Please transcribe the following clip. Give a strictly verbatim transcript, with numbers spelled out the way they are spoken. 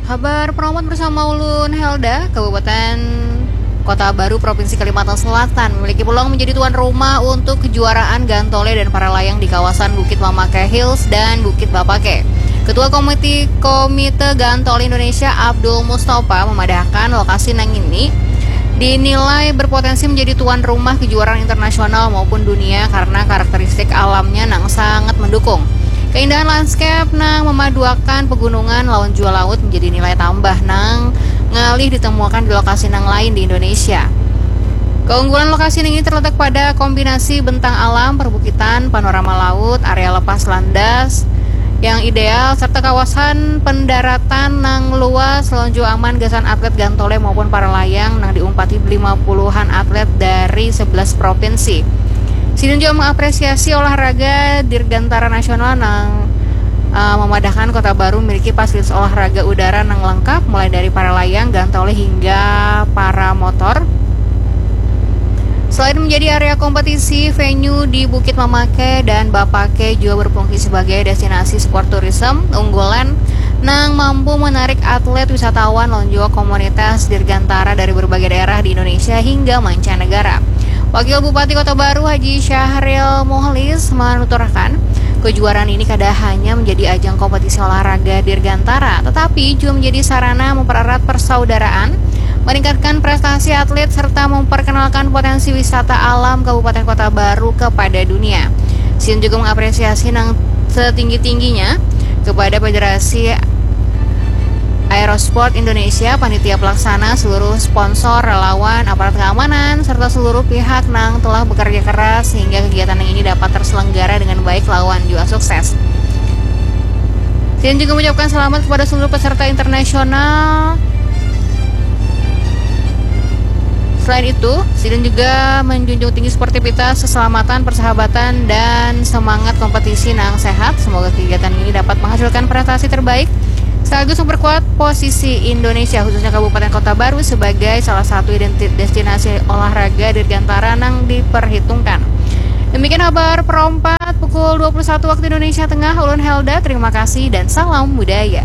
Habar Promote bersama ulun Helda. Kabupaten Kota Baru, Provinsi Kalimantan Selatan memiliki peluang menjadi tuan rumah untuk kejuaraan gantole dan para layang di kawasan Bukit Mamake Hills dan Bukit Bapake. Ketua Komite Komite Gantole Indonesia, Abdul Mustafa, memadahkan lokasi nang ini dinilai berpotensi menjadi tuan rumah kejuaraan internasional maupun dunia karena karakteristik alamnya nang sangat mendukung. Keindahan landscape nang memaduakan pegunungan lawan jua laut menjadi nilai tambah nang ngalih ditemukan di lokasi nang lain di Indonesia. Keunggulan lokasi ini terletak pada kombinasi bentang alam, perbukitan, panorama laut, area lepas landas yang ideal, serta kawasan pendaratan nang luas, lawan jua aman gasan atlet gantole maupun para layang nang diumpati lima puluhan atlet dari sebelas provinsi. Sidin juga mengapresiasi olahraga Dirgantara Nasional nang uh, memadahkan Kota Baru memiliki fasilitas olahraga udara nang lengkap, mulai dari para layang, gantole hingga para motor. Selain menjadi area kompetisi, venue di Bukit Mamake dan Bapake juga berfungsi sebagai destinasi sport tourism unggulan nang mampu menarik atlet, wisatawan, dan juga komunitas Dirgantara dari berbagai daerah di Indonesia hingga mancanegara. Wakil Bupati Kota Baru, Haji Syahril Muhlis, menuturkan, kejuaraan ini kada hanya menjadi ajang kompetisi olahraga Dirgantara, tetapi juga menjadi sarana mempererat persaudaraan, meningkatkan prestasi atlet, serta memperkenalkan potensi wisata alam Kabupaten Kota Baru kepada dunia. Sidin juga mengapresiasi nang setinggi-tingginya kepada Federasi Aerosport Indonesia, panitia pelaksana, seluruh sponsor, relawan, aparat keamanan, serta seluruh pihak nang telah bekerja keras sehingga kegiatan yang ini dapat terselenggara dengan baik lawan juga sukses. Sidin juga mengucapkan selamat kepada seluruh peserta internasional. Selain itu, Sidin juga menjunjung tinggi sportivitas, keselamatan, persahabatan, dan semangat kompetisi nang sehat. Semoga kegiatan ini dapat menghasilkan prestasi terbaik sekaligus memperkuat posisi Indonesia, khususnya Kabupaten Kota Baru, sebagai salah satu identitas destinasi olahraga dirgantara nang diperhitungkan. Demikian habar perompat pukul dua puluh satu waktu Indonesia Tengah. Ulun Helda, terima kasih dan salam budaya.